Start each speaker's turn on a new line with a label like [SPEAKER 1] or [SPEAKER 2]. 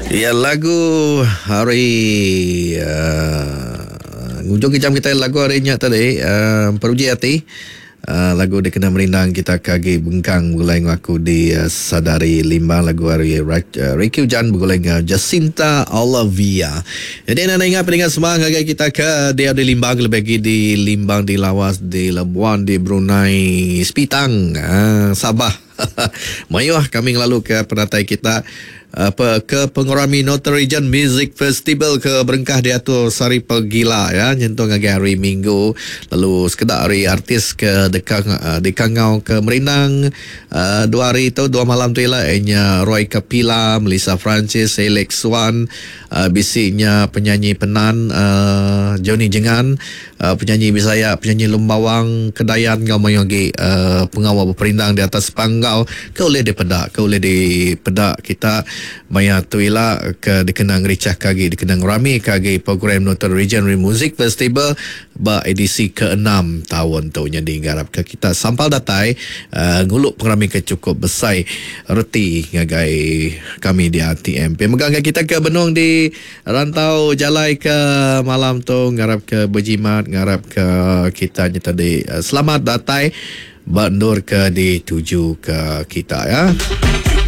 [SPEAKER 1] Ya lagu hari uh, ngujung ke jam kita lagu hari nya tadi uh, peruji hati uh, lagu dikena merindang kita ke agi bengkang begulai enggau aku di uh, Sadari Limbang lagu hari uh, Ricky Ujan begulai enggau Jacinta Olivia. Jadi anda ingat peningat semua ngagai kita ke dia di Limbang lebih lagi di Limbang di Lawas di Labuan di Brunei Sepitang uh, Sabah. Mayuh kami ngelalu ke penatai kita apa ke pengerami Northern Region Music Festival ke berengkah diatur sehari pegila ya nyentuk ngagai hari Minggu lalu sekeda ari artis ke deka dikangau ke merindang dua hari tu dua malam tu ila iya nya Roy Kapila, Melissa Francis, Alex Wan, bisi nya penyanyi Penan Johnny Jengan. Penyanyi Bisaya, penyanyi Lembawang, Kedayan enggau mayuh agi pengawa beperindang di atas panggau ke ulih dipeda, ke ulih dipeda kita maya tu ila ke dikena ngerichahka agi, dikena ngeramika agi program Northern Region Music Festival ba edisi keenam taun tu. Nyadi ngarapka kita sampal datai ngulu pengerami ke chukup besai reti ngagai kami di RTM. Pia mega ngagai kita ke benung di Rantau jalai ke malam tu ngarap ke bejimat ngarap ke kita nya tadi selamat datai ba endur ke dituju ke kita ya.